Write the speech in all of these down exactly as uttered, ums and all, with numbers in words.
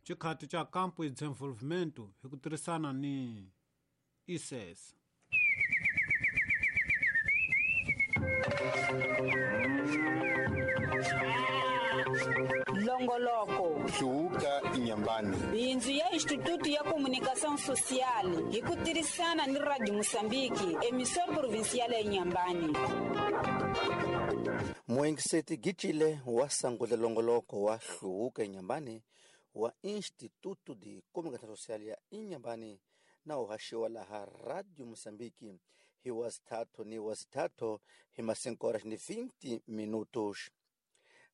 Xikhati xa Campo e Desenvolvimento hi ku tirhisana ni I C E S. Longoloko Hluvuka Inhambane, bindzu ya Instituto ya Comunicação Social hi ku tirhisana ni Radio Moçambique, emissora provincial ya Inhambane. Muengiseti Gitile wa sangule longoloko wa Hluvuka Inhambane wa Instituto de Comunicação Social ya Inhambane na uhaxiwa laha Radio Moçambique hi wasithathu ni wasithathu hi ma cinco horas ni vinte minutos.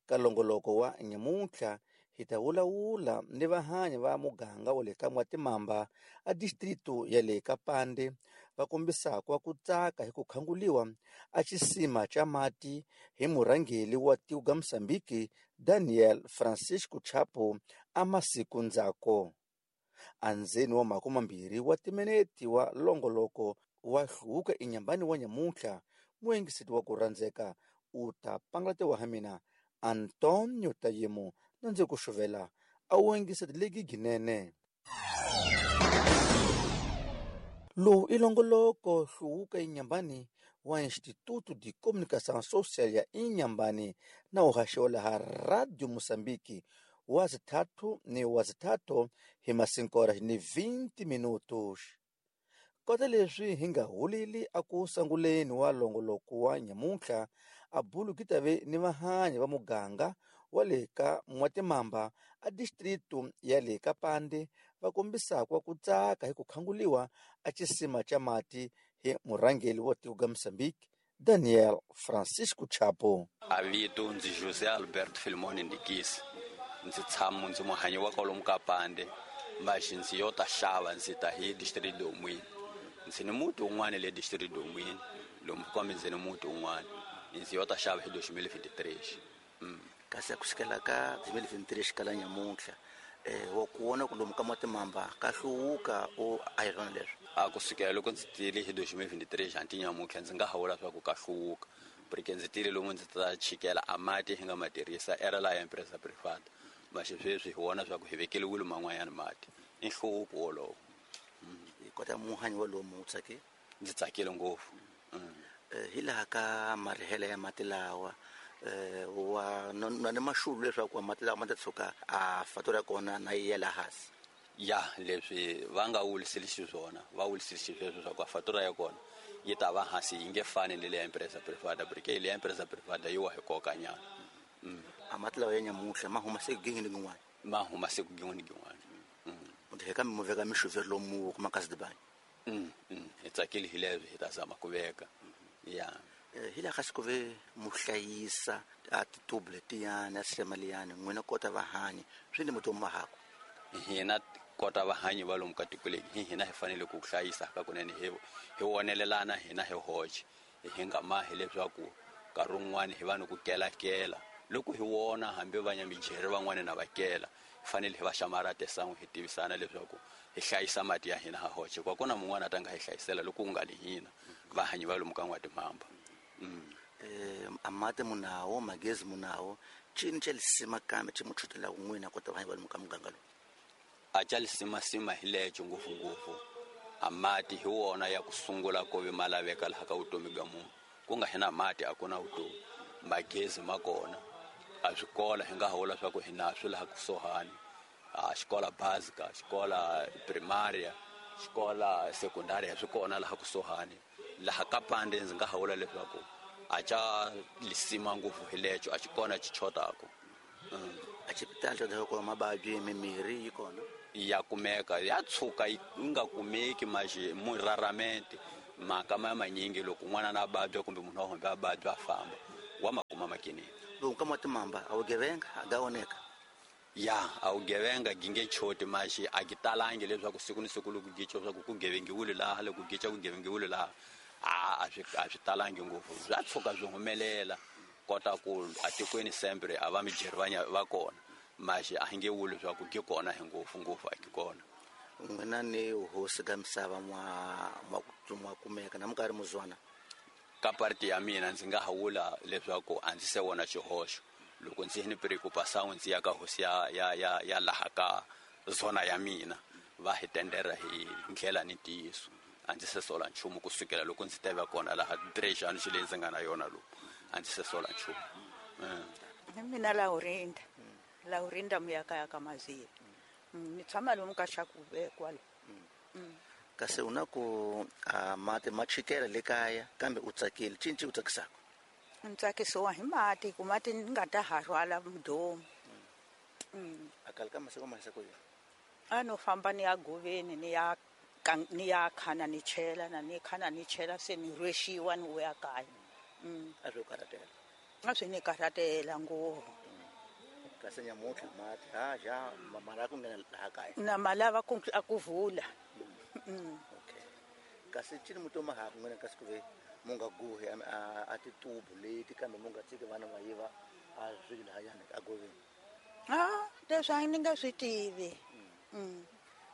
Ka longoloko wa nyamuntlha hi ta vulavula ni vahanyi va muganga wa le ka N'watimamba a distrito ya le ka Pande va kombisaka ku tsaka hi ku khanguliwa a xisima xa mati hi murhangeri wa tiko ga Mozambique Daniel Francisco Chapo a masiku ndzhaku. Andzeni wa makume mambirhi wa timinete wa longoloko wa Hluvuka Inhambane wa nyamuntlha, muengiseti wa ku rhandzeka u ta pangulatiwa ha mina Antonio Tayemo na ndzi ku xuvela a wu engiseti legi ginene. Lowu i longoloko Hluvuka Inhambane wa Instituto de Comunicação Social ya Inhambane na uhaxiwa laha Radio Moçambique wa zithathu ni wa zithathu hi ma cinco horas ni vinte minutos. Kota leswi hi nga huleli a ku sanguleni wa longoloko wa nyamuntlha a bulu ki tave ni vahanyi va muganga wa le ka N'watimamba a distrito ya le ka Pande va kombisaka ku tsaka hi ku khanguliwa a xisima xa mati hi murhangeri wa tiko ga Mozambique Daniel Francisco Chapo. A vito ndzi José Alberto Filimone Ndikisi, ndzi tshama ndzi muhanyi wa kwalomu ka Pande, maxi ndzi yo ta xava ndzi ta hi distrito domwini. Ndzi ni muti wun'wana le distrito domwini lomu kambe ndzi ni muti wun'wana ndzi yo ta xava hi dois mil e vinte e três. Mm. Kasi ku sukela ka dois mil e vinte e três kala nyamuntlha eh wa ku vona ku lomu ka N'watimamba ka hluvuka o a hi swona leswi? A ku sukela loko ndzi tile hi dois mil e vinte e três hanti nyamuntlha ndzi nga ha vula swa ku ka hluvuka porque ndzi tile lomu ndzi ta chikela a mati hi nga ma tirhisa era la ya empresa privada, maxi sweswi hi vona swa ku hi vekeliwile man'wanyana mati i nhluvuko wolowo. Hi kota muhanyi wa lomu u tsakile? Ndzi tsakile ngopfu. Hi laha ka marihele ya mati lawa wa na ni maxulu leswaku mati lawa ma ta tshuka a fatura ya kona na yi yela hansi? Ya leswi va nga wuliseli xiswona va wuliseli xisweswo swa ku fatura ya kona yi ta va hansi yi nge fani ni le ya empresa privada porque le ya empresa privada yi wa hi koka nyana. A mati lawa ya nyamuntlha ma huma siku gin'we ni gin'wana? Ma huma siku gin'we ni gin'wana. Munhu hi kambe mu veka mixuveri lomu kuma kasi dibanyi? Hi tsakile hi leswi hi ta zama ku veka. Ya hi laha ka siku ve mu hlayisa a titubu letiyani a sisema liyani n'wina kota vahanyi swi ni mutomi wa haku? Hina kota vahanyi va lomu ka tiko leri hi hina hi fanele ku hlayisa ka kunene hi hi wonelelana hina hi hoxe hi nga mahi leswaku nkarhi wun'wani hi vanhu ku kelakela loko hi wona hambi va nyamijeri van'wani na va kela hi fanele hi va xamarate san'we hi tivisana leswaku hi hlayisa mati ya hina ha hoxe kwa kona mun'wana a ta nga hi hlayisela loko ku nga li hina vahanyi va lomu ka N'watimamba. Eh a mati munawo magezi munawo cini xa lisima kambe xi mu chutelaka n'wina kota vahanyi va lomu ka muganga lowu? A xa lisimasima hi lexo ngopfungopfu a mati hi wona ya ku sungula ku ve ma laveka laha ka vutomi bya munhu ku nga hi na mati a ku na vutomi. Magezi ma kona a swikola hi nga ha vula swa ku hi na swi laha kusuhani a xikola básica xikola primária xikola secundária swi kona laha kusuhani laha ka Pande ndzi nga ha vula leswaku a xa lisima ngopfu hi lexo a xi kona xi chotaka. A xipitali xa dya kona mavabyi mimirhi yi kona ya kumeka ya tshuka yi nga kumeki maxi muraramente mhaka ma manyingi loko n'wana na vabya kumbe munhu wa hombe a vabya a famba wa ma kuma makinini. Lomu ka N'watimamba a wu gevenga a ga oneka? Ya a wu gevenga gi nge choti maxi a gi talangi leswaku siku ni siku loko gica leswaku ku gevengiwile laha loko gica ku gevengiwile laha a a swi a swi talangi ngopfu swa tshuka swi humelela kota ku atikweni sempre a va mijeri va va kona maxi a hi nge vuli leswaku gi kona hi ngopfu ngopfu a gi kona. N'wina ni hosi ka misava mwa mwa kumeka na minkarhi muzwana? Ka parti ya mina ndzi nga ha vula leswaku a ndzi se vona xihoxo loko ndzi ni preocupação ndzi ya ka hosi ya ya ya ya laha ka zona ya mina va hi tendera hi ndlela ni ntiyiso. A ndzi se sola nchumu kusukela loko ndzi teva kona laha trejani xi leyi ndzi nga na yona lowu a ndzi se sola nchumu. Mina Laurinda Laurinda muyaka ka Mazila ni tshama lomu ka Xakuve kwala. Kasi u na ku a mati ma chikela le kaya kambe u tsakile cinci u tsakisaka? Ni tsakisiwa hi mati ku mati ni nga ta ha rhwala mudomu. A kala ka masiku ma hisa ku yini? A no famba ni ya goveni ni ya ni ya khana ni chela na ni khana ni chela se ni rhwexiwa ni vuya kaya. A swi karhatela? A swi ni karhatela ngopfu. Kasi nyamuntlha mati ha ja mali ku nghena laha kaya na malava ku a ku vula. Okay. Kasi cini mutoma ha ku nghena kasi ku ve mu nga guhi a titubu leti kambe mu nga tshiki vana va yiva a swi lahayani a goveni? A leswi a ni nga swi tivi.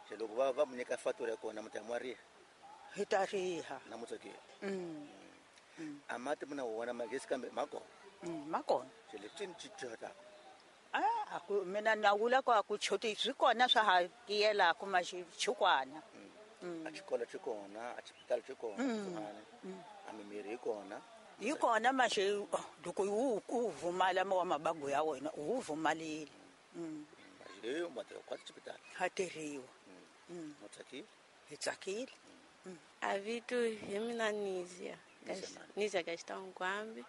Se loko va va mu nyika fatura ya kona mu ta mu riha? Hi ta riha. Na mu tsakile? A mati mu na wona magezi kambe ma kona? Ma kona. Se leswi ni cincaka? A a ku mina na vula ku a ku choti swi kona swa ha tiyelaka ma xikwana. A xikolo xi kona, a xipitali xi kona, kusuhani, a mimirhi yi kona. Yi kona maxi loko wu ku vumala wa mabango ya wena u wu vumalile. Leyo ma tirha kwati xipitali? Ha tirhiwa. Mu tsakile? Hi tsakile. A vito hi mina Nizia. Nizia Gastão Gwambi.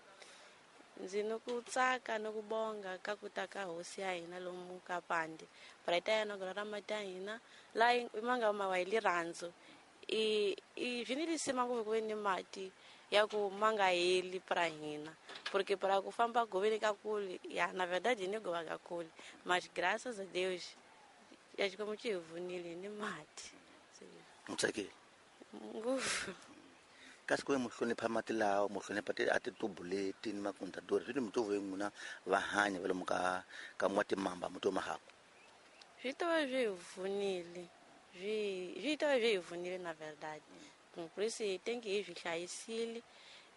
Ndzi ni ku tsaka ni ku bonga ka ku ta ka hosi ya hina lomu ka Pande. Preta ya nogora ra mati ya hina laha ma nga ma wa hi lirhandzu. I i swi ni lisima ngopfu ku ve ni mati ya ku ma nga heli pra hina. Porque para ku famba goveni ka kule, ya na verdade ni gova ka kule. Mas graças a Deus ya Xikwembu xi hi vunile ni mati. Mu tsakile? Ngopfu. Kasi ku ve mu hlonipha mati lawa mu hlonipha a titubu leti ni makuntadori swi ni mitovo yin'wina va hanya va lomu ka ka n'watimamba muti wa mahaku? Swi to va swi hi vunile swi swi to va swi hi vunile na verdade. Por isso hi tenki hi swi hlayisile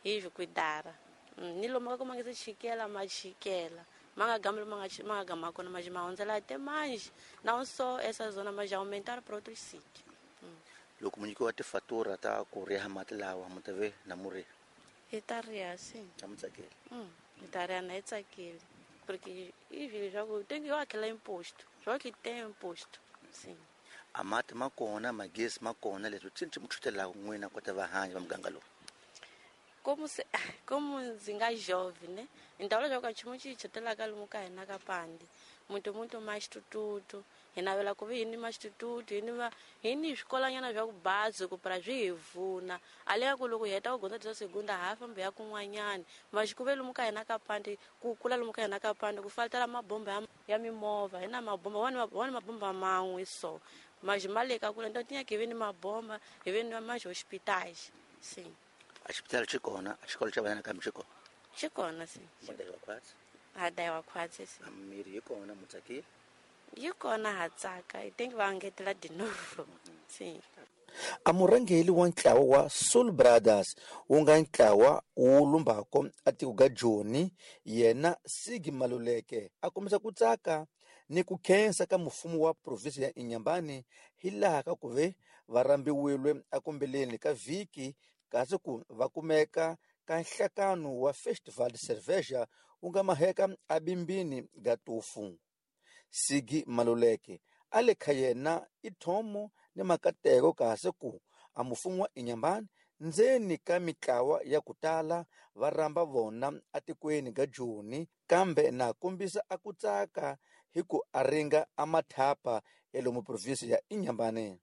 hi swi kwidara ni lomu ka ku ma nga se chikela ma chikela ma nga gami ma nga ma nga gama kona mas ma hundzela até mais não só essa zona mas já aumentaram para outros sítios. Loko mu nyikiwa tifatura ta ku riha mati lawa mu ta ve na mu riha? Hi ta riha sim. Na mu tsakile? Hi ta riha na hi tsakile porque i swilo swa ku tem que eu aquela imposto só que tem imposto sim. A mati ma kona magezi ma kona leswi cinci mu chutelaka n'wina kota va hanya va muganga lowu? Como se como ndzi nga jovem, né? Então leswaku nchumu xi hi chutelaka lomu ka hina ka Pande muito muito mais tututu hi navela ku vi hi ni maxitututu hi ni va hi ni swikolanyana swa ku bazi ku para swi hi vuna ale ya ku loko hi heta ku gondza tisa segunda ha famba ya kun'wanyana mas ku ve lomu ka hina ka Pande ku kula lomu ka hina ka Pande ku faltela mabomba ya, ya mimovha hi na mabomba wani wani mabomba man'we so mas ma le ka kula então tinha que vi ni mabomba hi vi ni mais hospitais sim. A xipitali xi kona, a xikolo xa vana nakambe xi kona? Xi kona sim. Mu dayiwa khwatsi? Ha dayiwa khwatsi sim. A mirhi yi kona mu tsakile? Yi kona ha tsaka i think va ngetela de novo sim. A murhangeri wa ntlawa wa Soul Brothers wu nga ntlawa wu lumbako a tiko ga Joni yena Sigi Maluleke a kombisa ku tsaka ni ku khensa ka mfumo wa provinsi ya Inhambane hi laha ka ku ve va rambiwile akumbeleni ka vhiki kasi ku va kumeka ka nhlakano wa Festival de Cerveja wu nga maheka abimbini ga tufu. Sigi Maluleke a le kha yena i thomo ni makateko kasi ku a mfumo wa Inhambane ndzeni ka mitlawa ya ku tala va rhamba vona atikweni ga Joni kambe na kombisa a ku tsaka hi ku a ringa a mathapa ya lomu provinsi ya Inhambane.